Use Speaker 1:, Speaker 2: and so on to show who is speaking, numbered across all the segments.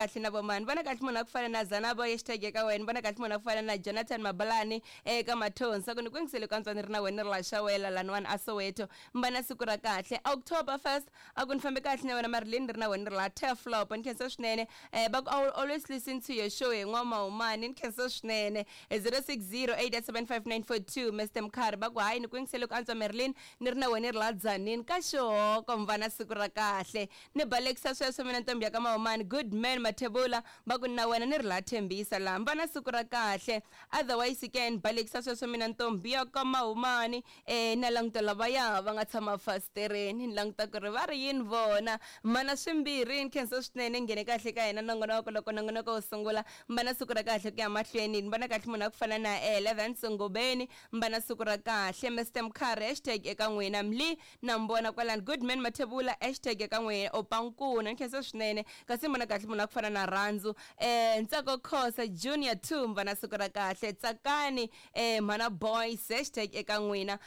Speaker 1: Kahle na vomani vona kahle munhu a ku fana na Zanabo hashtag eka wena vona kahle munhu a ku fana na Jonathan Mabalani eka Mathonsi ku ni ku yingisele ku antswa ni ri na wena ni ri la Xawela laniwani a Soweto mbana siku ra kahle October 1st a ku ni fambe kahle na wena Marilyn ni ri na wena ni ri la Turflop ni khensa swinene eh va ku I will always listen to your show hi N'wamahumani ni khensa swinene 0608875942 Mr Mkhari va ku hayi ni ku yingisele ku antswa Marilyn ni ri na wena ni ri la Tzaneen ka xihoko mvana siku ra kahle Ni balekisa sweswo mina ntombi ya ka Mahumani good man Mathebula va ku na wena ni ri la Thembisa la mba na siku ra kahle otherwise ke ni balekisa sweswo mina ntombi ya ka Mahumani eh na languta lavaya va nga tshama fasitereni ni languta ku ri va ri yini vona mana swimbirhi ni khensa swinene nghene kahle ka hina nongonoko loko nongonoko wu sungula mba na siku ra kahle ku ya mahlweni ni vona kahle munhu a ku fana na Eleven Sungubeni mba na siku ra kahle Mister Mkhari hashtag eka n'wina mli Na mi vona kwalani. Goodman Mathebula hashtag eka n'wina Opankuna ni khensa swinene kasi ni vona kahle munhu a ku fana na Rhandzu Ntsako Khosa Junior Thumba na siku ra kahle Tsakani Mhana Boys hashtag eka n'wina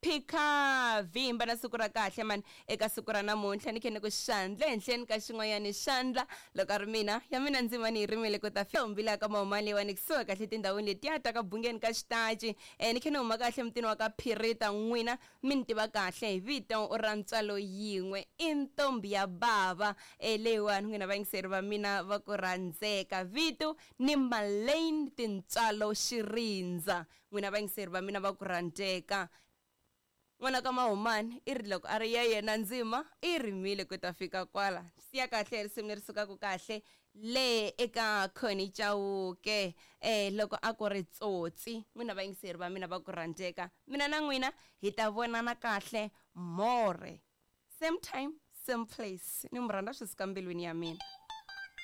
Speaker 1: Phika Vhimba na siku ra kahle mani eka siku ra namuntlha ni khe ni ku xandla ehenhleni ka xin'wanyani xandla loko a ri mina ya mina ndzima ni yi rimile ku ta fika mbila ka mahuma leyiwani kusuhi kahle tindhawini letiya ta ka bungeni ka xitaci ni khe ni huma kahle mutini wa ka Phirita n'wina Mi ni tiva kahle hi vito ra ntswalo yin'we, i ntombhi ya bava. E, leyiwani n'wina vayingiseri va mina va ku rhandzeka. Vito ni Marlene Tintswalo Xirindza. N'wina vayingiseri va mina va ku rhandzeka. N'wana ka Mahumani i ri loko a ri ya yena ndzima i rimile ku ta fika kwala. Siya kahle risimu leri sukaka kahle Le eka Connie Chauke eh loko a ku ri tsotsi n'wina vayingiseri va mina va ku rhandzeka mina na n'wina hi ta vonana kahle more same time same place ni mi rhandza swi suka mbilwini ya mina.